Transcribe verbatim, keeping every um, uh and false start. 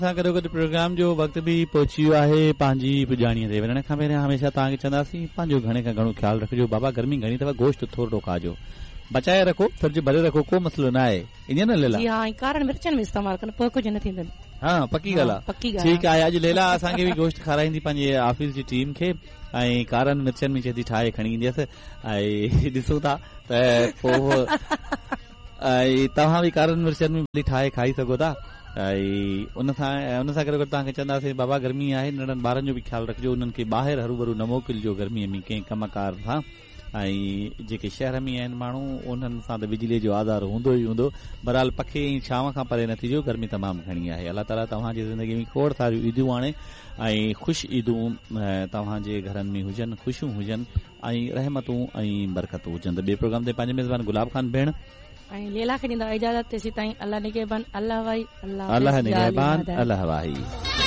سان گڏوگڏ پروگرام جو وقت به پهچي ويو آهي پنهنجي پڄاڻيءَ تي. وڃڻ کان پهريان هميشه توهان کي چونداسين پنهنجو گهڻي کان گهڻو خيال رکجو بابا، گرمي گهڻي اٿو، گوشت ٿورو کائجو، بچائي رکو، فرج ڀري رکو، ڪو مسئلو نه آهي. ائين نه ليلا؟ جي ها، ۽ ڪارن مرچن ۾ استعمال ڪن پوءِ ڪجهه نه ٿيندن. ها، پڪي ڳالهه آهي. پڪي ڳالهه. ٺيڪ آهي، اڄ ليلا اسان کي به گوشت کارائيندي پنهنجي آفيس جي ٽيم کي ۽ ڪارن مرچن ۾ چئي ٿي ٺاهي کڻي اينديس ۽ ڏسون ٿا ته پوءِ ۽ توهان به ڪارن مرچن ۾ ڀلي ٺاهي کائي سگهو ٿا. ۽ ان سان ان سان گڏ گڏ توهان کي چونداسين بابا گرمي آهي، ننڍن ٻارن جو به خيال رکجو، انهن کي ٻاهر هرو ڀرو نه موڪلجو گرميءَ ۾ ڪنهن ڪم ڪار سان. ۽ جيڪي شهر ۾ آهن ماڻهو انهن سان ته بجليءَ جو آزار هوندو ئي هوندو. بهرحال پکي ۽ ڇانو کان پري نه ٿجو، گرمي تمام گهڻي آهي. الله تعاليٰ توهان جي زندگي ۾ کوڙ ساريون عيدون آڻي ۽ خوش عيدون توهان جي گهرن ۾ هجن، خوشيون هجن ۽ رحمتون ۽ برڪتون هجن. ته ٻئي پروگرام تي پنهنجي ميزبان گلاب خان ڀيڻ ۽ ليلا کي ڏيندا اجازت. تيسين تائين الله نگهبان، الله واهي، الله نگهبان، الله واهي.